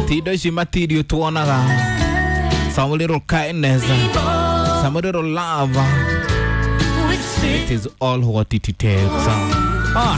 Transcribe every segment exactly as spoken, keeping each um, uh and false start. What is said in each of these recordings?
Ti indo ici material tuonaga. Some little kindness, some little love. It is all what it takes. Ah,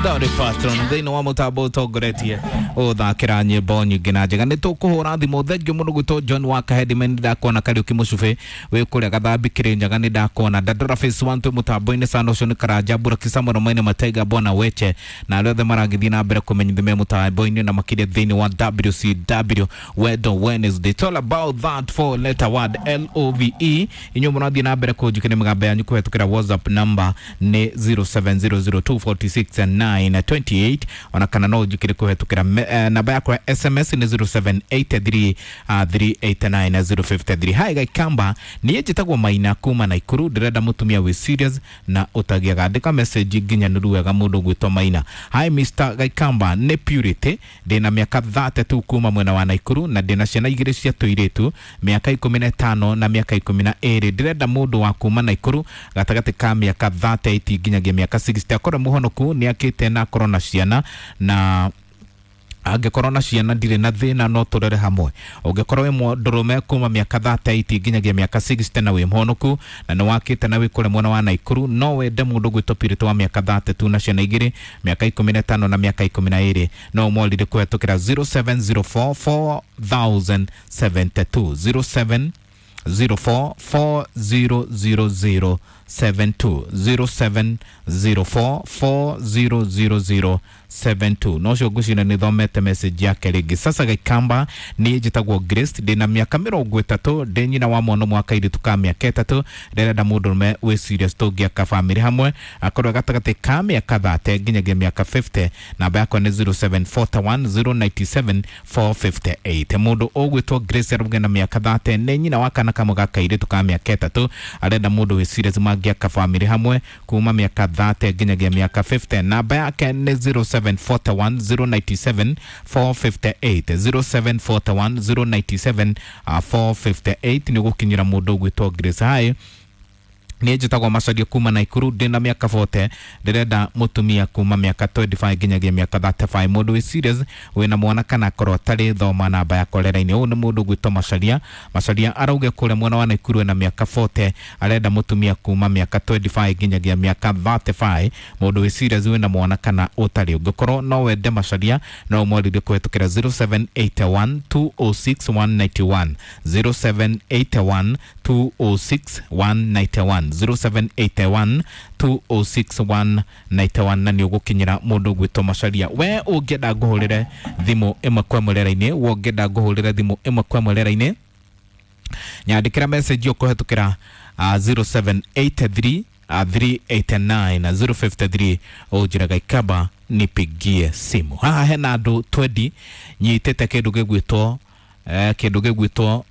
Dolly Parton thĩinĩ wa mũtambo ũtongoretie ũthakĩra nyĩmbo nyingĩ na njega. Nĩ tũkũhũra thimũ. Thengiũ mũno gwĩtwo John wa Kahedimen, ndakuona. Kariũki Mũcubĩ wĩ kũrĩa Gathambi Kĩrĩnyaga, nĩ ndakuona. Dandora Phase one twĩ mũtambo-inĩ sana. Ũcio nĩ Karanja Mbũraki Samuel Maina Mataiga Bwana Weche na arĩa othe maragĩthiĩ na mbere kũmenyithia me mũtambo-inĩ na makĩria thĩinĩ wa W C W Wendo Wednesday. It's all about that four letter word, L O V E. Inyuĩ mũrathiĩ na mbere kũnjikĩria mĩgambo yanyu kũhetũkĩra WhatsApp number nĩ zero seven zero zero two four six nine two eight, ona kana no ũnjikĩre kũhetũkĩra me- eh, namba yakwa ya S M S nĩ zero seven eight three three eight nine zero five three. Hi Gaikamba, niĩ njĩtagwo Maina kuma Naikuru, ndĩrenda mũtumia wĩ serious na ũtagiaga. Andĩka message nginyanĩru wega mũndũ gwĩtwo Maina. Hi Mister Gaikamba, nĩ Purity, ndĩna mĩaka thirty-two kuma mwena wa Naikuru na ndĩna ciana igĩrĩ cia tũirĩtu, mĩaka ikũmi na ĩtano na mĩaka ikũmi na ĩrĩ. Ndĩrenda mũndũ wa kuma Naikuru gatagatĩ ka mĩaka thirty-eight nginyagia mĩaka sixty, akorwo mũhonoku, nĩ akĩte na akorwo na ciana, na angĩkorwo na ciana ndirĩ na thĩna, no tũrere hamwe. Ũngĩkorwo wĩ mũndũrũme kuma mĩaka thirty-eight nginyagia mĩaka sixty na wĩ mũhonoku na nĩ wakĩte na wĩ kũrĩa mwena wa Naikuru, no wende mũndũ gwĩtwo Purity wa mĩaka thirty-two na ciana igĩrĩ, mĩaka ikũmi na ĩtano na mĩaka ikũmi na ĩrĩ, no ũmwarĩrie kũhetũkĩra zero seven zero four four zero zero seven two, zero seven zero four four zero zero zero seven two, zero seven zero four four zero zero zero seven two. No cio ngwĩciria nĩ thomete message yake rĩngĩ. Sasa Gaikamba, niĩ njĩtagwo Grace, ndĩna mĩaka mĩrongo ĩtatũ, ndĩ nyina wa mwana ũmwe wa kairĩtu ka mĩaka ĩtatũ. Ndĩrenda mũndũrũme wĩ serious tũngĩaka bamĩrĩ hamwe, akorwo gatagatĩ ka mĩaka thirty nginyagia mĩaka fifty. Namba yakwa nĩ zero seven four one zero nine seven four five eight. Mũndũ ũgwĩtwo Grace arauga na mĩaka thirty, nĩ nyina wa kana kamwe ga kairĩtu ka mĩaka ĩtatũ, arenda mũndũ wĩ serious mangĩaka bamĩrĩ hamwe kuma mĩaka thirty nginyagia mĩaka fifty. Namba yake nĩ zero seven four one zero nine seven four five eight, zero seven four one zero nine seven four five eight nĩ gũkinyĩra mũndũ ũgwĩtwo Grace. Hi, niĩ njĩtagwo Macaria kuma Naikuru, ndĩna mĩaka forty, ndĩrenda mũtumia kuma mĩaka twenty-five nginyagia mĩaka thirty-five, mũndũ wĩ serious, wĩna mwana kana akorwo atarĩ. Thoma namba yakwa rera-inĩ. Ũyũ nĩ mũndũ ũgwĩtwo Macaria. Macaria arauge kũrĩa mwena wa Naikuru ena mĩaka forty, arenda mũtumia kuma mĩaka twenty-five nginyagia mĩaka thirty-five, mũndũ wĩ serious, wĩna mwana kana ũtarĩ. Ũngĩkorwo no wende Macaria, no ũmwarĩrie kũhetũkĩra zero seven eight one two zero six one nine one, zero seven eight one two zero six one nine one, zero seven eight one two zero six one nine one, na nĩ ũgũkinyĩra mũndũ ũgwĩtwo Macaria. We ũngĩenda ngũhũrĩre thimũ ĩmwe kwa ĩmwe rera-inĩ, we ũngĩenda ngũhũrĩre thimũ ĩmwe kwa ĩmwe rera-inĩ, nyandĩkĩra message ũkũhetũkĩra uh, zero seven eight three uh, three eight nine zero five three, ũnjĩra Gaikamba nipigie simu. Haha hena andũ twenty nyitĩte kĩndũ gĩgwĩtwo eh, kĩndũ gĩgwĩtwo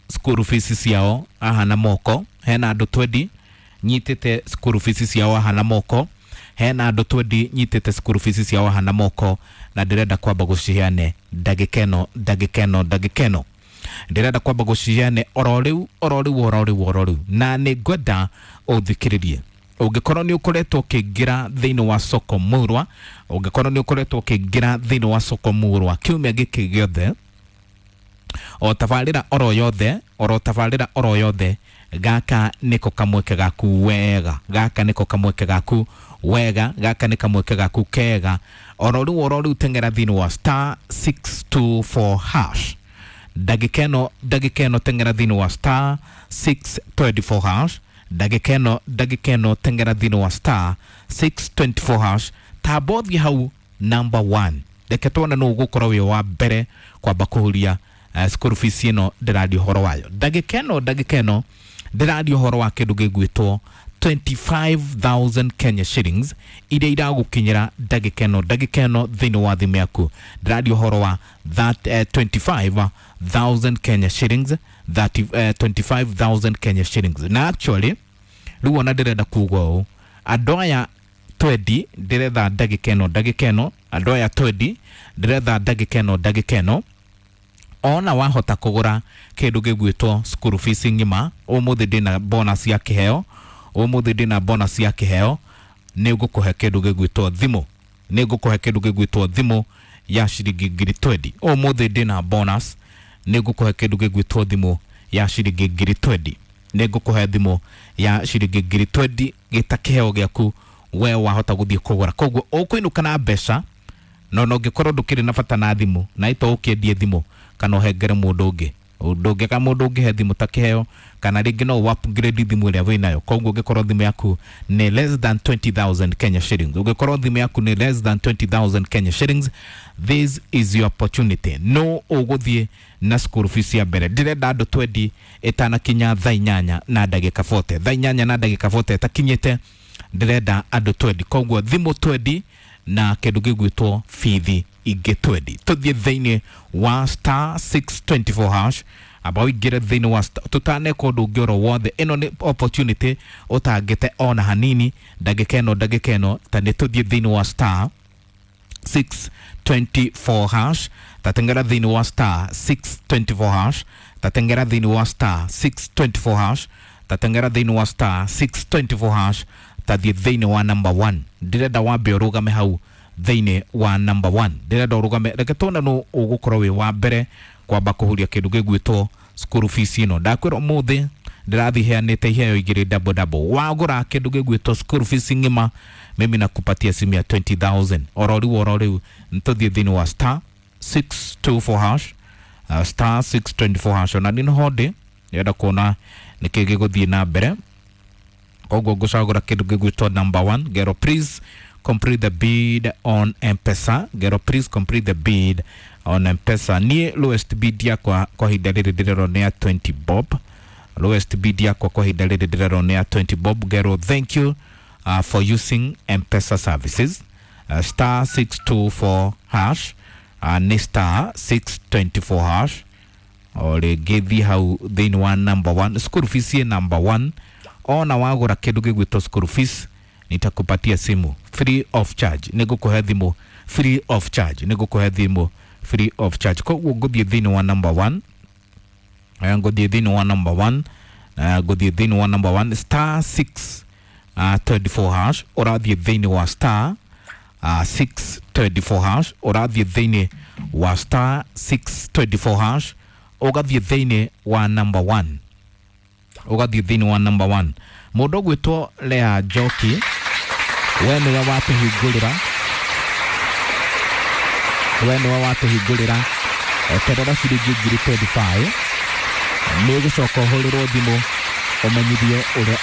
school fees ciao haha na moko. Hena andũ twenty nyitĩte school fees ciao haha na moko. Hena andũ twenty nyitĩte school fees ciao haha na moko, na ndĩrenda kwamba gũciheane ndagĩka ĩno, ndagĩka ĩno, ndagĩka ĩno. Ndĩrenda kwamba gũciheane oro rĩu, oro rĩu, oro rĩu, oro rĩu, na nĩ ngwenda ũthikĩrĩrie. Ũngĩkorwo nĩ ũkoretwo ũkĩingĩra thĩinĩ wa soko murwa, ũngĩkorwo nĩ ũkoretwo ũkĩingĩra thĩinĩ wa soko murwa kiumia gĩkĩ gĩothe, o tabarĩra oro yothe, oro tabarĩra oro yothe, gaka nĩko kamweke gaku wega, gaka nĩko kamweke gaku wega, gaka nĩ kamweke gaku kega. Oro rĩu, oro rĩu, teng'era thĩinĩ wa star six two four hash ndagĩka ĩno, ndagĩka ĩno. Teng'era thĩinĩ wa star six two four hash ndagĩka ĩno, ndagĩka ĩno. Teng'era thĩinĩ wa star six two four hash, tamba ũthiĩ hau number one. Reke tuone nũ ũgũkorwo wĩ wa mbere kwamba kũhuria uh, school fees ĩno ndĩraria ũhoro wayo ndagĩka ĩno. Ndagĩka ĩno ndĩraria ũhoro wa kĩndũ gĩgwĩtwo twenty-five thousand Kenya shillings iria iragũkinyĩra ndagĩka ĩno, ndagĩka ĩno thĩinĩ wa thimũ yaku. Ndĩraria ũhoro wa that uh, twenty-five thousand Kenya shillings, thirty, uh, twenty-five thousand Kenya shillings. Na actually rĩu ona ndĩrenda kuga ũũ, andũ aya twenty ndĩretha ndagĩka ĩno, ndagĩka ĩno, andũ aya twenty ndĩretha ndagĩka ĩno, ndagĩka ĩno, ona wahota kũgũra kĩndũ gĩgwĩtwo school fees ng'ima ũmũthĩ. Ndĩna bonus ya kĩheo ũmũthĩ, ndĩna bonus ya kĩheo. Nĩ ngũkũhe kĩndũ gĩgwĩtwo thimũ, nĩ ngũkũhe kĩndũ gĩgwĩtwo thimũ. ya ciringi ngiri twendi. Ũmũthĩ ndĩna bonus, nĩ ngũkũhe kĩndũ gĩgwĩtwo thimũ ya ciringi ngiri twendi. Nĩ ngũkũhe thimũ ya ciringi ngiri twendi gĩta kĩheo gĩaku we wahota gũthiĩ kũgũra. Koguo ũkũinũka na mbeca, no no ũngĩkorwo ndũkĩrĩ na bata na thimũ na ito ũkĩendie thimũ kana ũhengere mũndũ ũngĩ, ndũngĩka mũndũ ũngĩ he thimũ ta kĩheo, kana rĩngĩ no upgrade thimũ ĩrĩa wĩnayo. Koguo ũngĩkorwo thimũ yaku nĩ less than twenty thousand Kenya shillings, ũngĩkorwo thimũ yaku nĩ less than twenty thousand Kenya shillings, this is your opportunity. No ũgũthiĩ na school fees ya mbere. Ndĩrenda andũ twendi ĩtanakinya thaa inyanya na ndagĩka forty, thaa inyanya na ndagĩka forty ĩtakinyĩte, ndĩrenda andũ twendi. Koguo thimũ twendi na kĩndũ gĩgwĩtwo bithi ingĩ twendi. Tũthiĩ thĩinĩ wa star six twenty four hash, amba ũingĩre thĩinĩ wa tũtaneka ũndũ ũngĩ oro wothe. Ĩno nĩ opportunity ũtangĩte ona hanini, ndagĩka ĩno ndagĩka ĩno ta nĩ tũthiĩ thĩinĩ wa star six twenty four hash, tatengera thĩinĩ wa star six twenty four hash, tatengera thĩinĩ wa star six twenty four hash, tatengera thĩinĩ wa star six twenty four hash, tathiĩ thĩinĩ wa number one. Ndĩrenda wambe ũrũgame hau thĩinĩ wa number one, ndĩrenda ũrũgame, reke tuone nũ ũgũkorwo wĩ wa mbere kwamba kũhuria kĩndũ gĩgwĩtwo school fees ĩno. Ndakwĩra ũmũthĩ ndĩrathiĩ heanĩte iheo igĩrĩ double double. Wagũra kĩndũ gĩgwĩtwo school fees ng'ima, mimi nakupatia simu ya twenty thousand oro rĩu oro rĩu. Nĩtũthiĩ thĩinĩ wa star six two four hash, uh, star six twenty four hash. Ona nĩ ho ndĩ, ndĩrenda kuona nĩkĩ gĩgũthiĩ na mbere. Koguo ngũcagũra kĩndũ gĩgwĩtwo number one. Ngero please complete the bid on M-Pesa. Ngero please complete the bid on M-Pesa. Niĩ lowest bid yakwa kwa ihinda rĩrĩ ndĩrerwo nĩ ya twenty bob. Lowest bid yakwa kwa ihinda rĩrĩ ndĩrerwo nĩ ya twenty bob. Ngero thank you uh, for using M-Pesa services. Uh, star six two four hash, uh, nĩ star six twenty four hash. O rĩngĩ thiĩ hau thĩinĩ wa number one, school fees ĩ number one. Ona wagũra kĩndũ gĩgwĩtwo school fees, nitakupatia simu free of charge. Nĩngũkũhe thimũ free of charge, nĩngũkũhe thimũ free of charge. Koguo ngũthiĩ thĩinĩ wa number one, ngũthiĩ thĩinĩ wa number one, ngũthiĩ thĩinĩ wa number one star six twenty four hash, ũrathiĩ thĩinĩ wa star six twenty four hash, ũrathiĩ thĩinĩ wa star six twenty four hash, ũgathiĩ thĩinĩ wa number one, ũgathiĩ thĩinĩ wa number one. Mũndũ ũgwĩtwo Lea Njoki, we nĩwe watũhingũrĩra, we nĩwe watũhingũrĩra eterera ciringi ngiri twenty five. Nĩ ũgũcoka ũhũrĩrwo thimũ ũmenyithio ũrĩa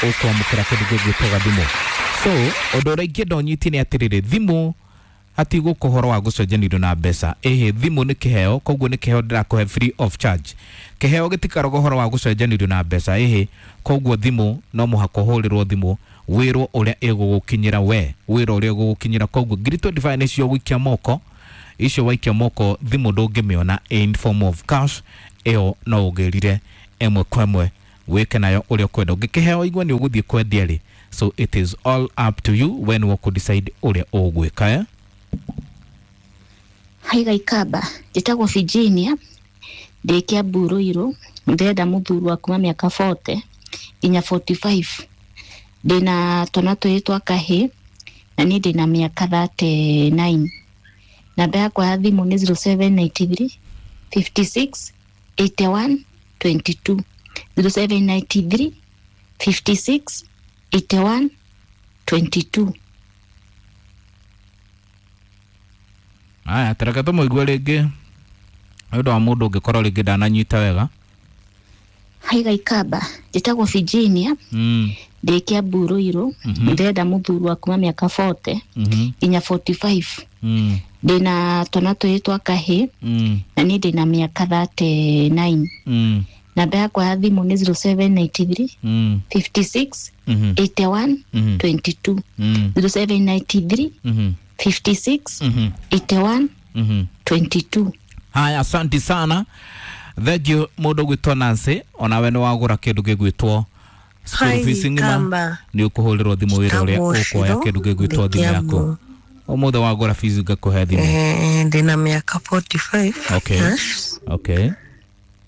ũkwamũkĩra kĩndũ gĩgwĩtwo gathimũ. So ũndũ ũrĩa ingĩenda ũnyitie nĩ atĩrĩrĩ, thimũ hatigũkũ ũhoro wa gũcenjanĩrio na mbeca. Ĩhĩ, thimũ nĩ kĩheo, koguo nĩ kĩheo ndĩrakũhe free of charge. Kĩheo gĩtikarogwo ũhoro wa gũcenjanĩrio na mbeca. Ĩhĩ, koguo thimũ no mũhaka ũhũrĩrwo thimũ wĩrwo ũrĩa ĩgũgũkinyĩra we, wĩrwo ũrĩa ĩgũgũkinyĩra. Koguo ngiri twenty five nĩcio gũikia moko, icio waikia moko thimũ ndũngĩmĩona in form of cash, ĩyo no ũgĩrire ĩmwe kwa ĩmwe wĩke nayo ũrĩa ũkwenda. Ũngĩkĩheo igua nĩ ũgũthiĩ kwendia rĩ, so it is all up to you when we could decide ũrĩa ũgwĩka. Eh? Hi Gaikaba, njĩtagwo Virginia, ndĩ Kiambu Ruiru, ndĩrenda mũthuri wa kuma mĩaka forty nginya forty five. Ndĩna twana twĩrĩ twa kahĩĩ na niĩ ndĩna mĩaka thirty nine. Namba yakwa ya thimũ nĩ zero seven ninety three fifty six eighty one twenty two, zero seven ninety three fifty six eighty one twenty two. Aya, tareke tũmũigue rĩngĩ nĩ ũndũ wa mũndũ ũngĩkorwo rĩngĩ ndananyita wega. Hi Gaikaba, njĩtagwo Virginia, mm. ndĩ Kiambu Ruiru, ndĩrenda mũthuri wa kuma mĩaka forty nginya forty five. Mm. Ndĩna twana twĩrĩ twa kahĩĩ mm. na niĩ ndĩna mĩaka thirty nine. Mm. Namba yakwa ya thimũ nĩ zero seven ninety three mm. fifty six mm eighty one -hmm. twenty two, mm. zero seven ninety three mm -hmm. fifty six mm -hmm. eighty one mm -hmm. twenty two. Haya, asante sana. Thank you mũndũ ũgwĩtwo Nancy, onawe nĩ wagũra kĩndũ gĩgwĩtwo school fees ng'ima, nĩ ũkũhũrĩrwo thimũ wĩra ũrĩa ũkuoya kĩndũ gĩgwĩtwo thimũ yaku. Ũmũthĩ wagũra fees ngakũhe thimũ. Eh, ndĩna mĩaka forty five. Okay. Okay.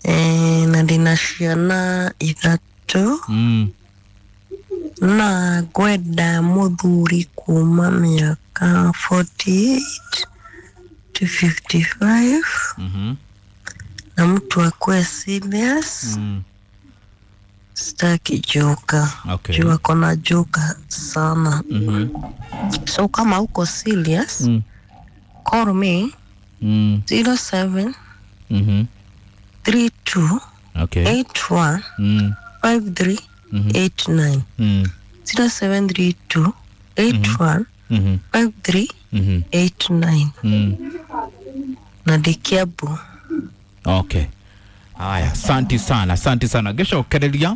Eh, na ndĩna ciana ithatũ. Mm. Na ngwenda mũthuri kuma mĩaka forty eight to fifty-five Mhm. na mtu akuwe serious. Mm. Sitaki joka. Okay. Juu ako na joka sana. Mhm. So kama uko serious, Mm. call me Mm. zero seven Mhm. three two Okay. eight one Mm. five three Mhm. eight nine Mm. zero seven three two eight one Mhm. five three Mhm. eight nine Mm. na ndĩ Kiambu. Okay. Haya, asante sana, asante sana. Ngĩcokereria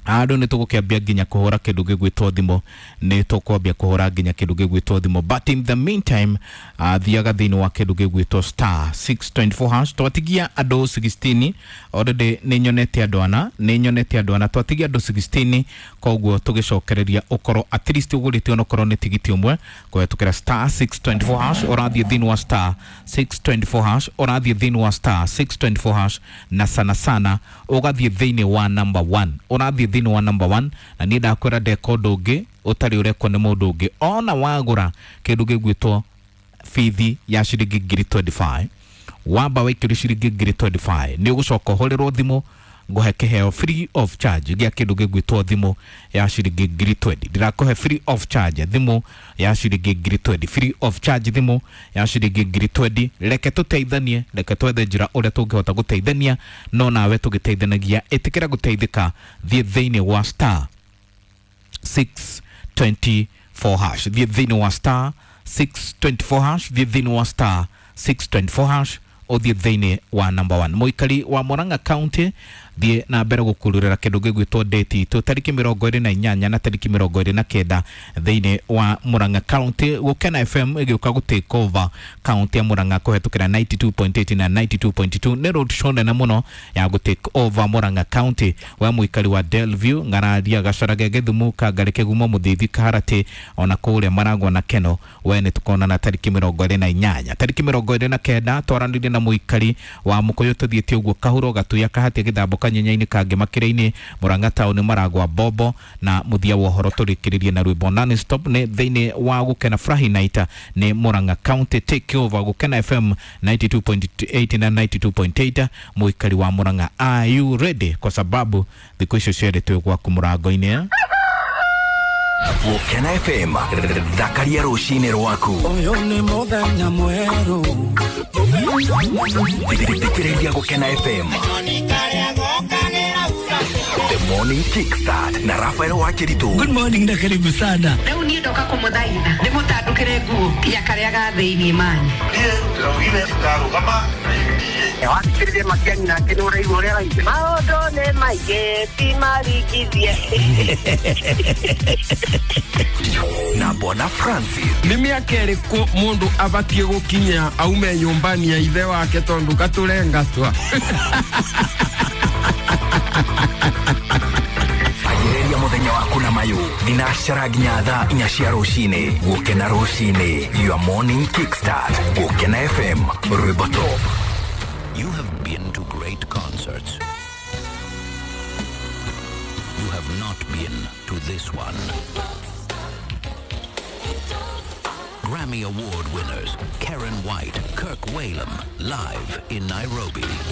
andũ nĩ tũgũkĩambia nginya kũhũra kĩndũ gĩgwĩtwo thimũ, nĩ tũkwambia kũhũra nginya kĩndũ gĩgwĩtwo thimũ, but in the meantime uh, thiaga thĩinĩ wa kĩndũ gĩgwĩtwo star six two four hash. Twatigia andũ sixteen already, nĩ nyonete andũ ana, nĩ nyonete andũ ana, twatigia andũ sixteen, koguo tũgĩcokereria ũkorwo at least ũgũrĩte onokorwo nĩ tigiti ũmwe kũhetũkĩra star six two four hash. Ũrathiĩ thĩinĩ wa star six two four hash, ũrathiĩ thĩinĩ wa star six two four hash, na sana sana ũgathiĩ thĩinĩ wa number one, ũrathiĩ thĩinĩ wa number one, na niĩ ndakwĩra ndeka ũndũ ũngĩ ũtarĩ ũrekwo nĩ mũndũ ũngĩ. Ona wagũra kĩndũ gĩgwĩtwo bithi ya ciringi ngiri twenty five, wamba waikĩrio ciringi ngiri twenty five, nĩ ũgũcoka ũhũrĩrwo thimũ ngũhe kĩheo free of charge gĩa kĩndũ gĩgwĩtwo thimũ ya ciringi ngiri twenty. Ndĩrakũhe free of charge thimũ ya ciringi ngiri twenty, free of charge thimũ ya ciringi ngiri twenty. Reke tũteithanie, reke twethe njĩra ũrĩa tũngĩhota gũteithania, no nawe tũgĩteithanagia ĩtĩkĩra gũteithĩka. Thiĩ thĩinĩ wa star six twenty four hash, thiĩ thĩinĩ wa star six twenty four hash, thiĩ thĩinĩ wa star six twenty four hash, ũthiĩ thĩinĩ wa number one. Mũikari wa Murang'a County, thiĩ na mbere gũkururĩra kĩndũ gĩgwĩtwo date itũ tarĩki mĩrongo ĩrĩ na inyanya na tarĩki mĩrongo ĩrĩ na kenda thĩinĩ wa Murang'a County. Gũkena F M ĩgĩũka gũ take over county ya Murang'a kũhetũkĩra ninety two point eight na ninety two point two. Nĩ road show nene mũno ya gũ take over Murang'a County. We mũikari wa Delview, Ng'araria, Gacarage, Gĩthumu, Kangarĩ, Kĩgumo, Mũthithi, Kaharatĩ, ona kũrĩa Maragwa na Keno, we nĩ tũkonana tarĩki mĩrongo ĩrĩ na inyanya. Tarĩki mĩrongo ĩrĩ na kenda twaranĩrie na mũikari wa Mũkũyũ tũthiĩte ũguo Kahuro, Gatuya, Kahatia, Gĩthambo, Kanyenyainĩ, Kangĩ, Makĩrĩ-inĩ, Murang'a Town, Maragwa, Bobo, na mũthia wa ũhoro tũrĩkĩrĩrie na rwĩmbo non stop nĩ thĩinĩ wa Gũkena Furahi Night nĩ Murang'a County take over Gũkena F M ninety two point eight na ninety two point eight. Mũikari wa Murang'a, are you ready? Kwa sababu thikũ icio cierĩ twĩ gwaku mũrango-inĩ. Gũkena F M, thakaria rũcinĩ rwaku. Ũyũ nĩ mũthenya mwerũ. Thikĩrĩria Gũkena F M. The Morning Kickstart na Rafael Wakiritu. Good morning na karibu sana. Rĩu niĩ ndoka kũmũthaitha ndĩmũtandũkĩre nguo ya karĩa ga thĩinĩ mani. Niĩ ndĩraugire ndarũgama na U D A. Wathikĩrĩria Matiang'i nake nĩ ũraigua ũrĩa araigua. Maũndũ nĩ maingĩ ti maringithie. Na Bwana Francis. Nĩ mĩaka ĩrĩkũ mũndũ abatiĩ gũkinya aume nyũmbani ya ithe wake tondũ gatũrengatwa? Anjĩrĩria mũthenya waku na mayũ thinacara nginya thaa inya cia rũcinĩ. Gũkena rũcinĩ, your morning kickstart. Gũkena F M, rwĩmbo top. You have been to great concerts. You have not been to this one. Grammy Award winners Karen White, Kirk Whalum, live in Nairobi.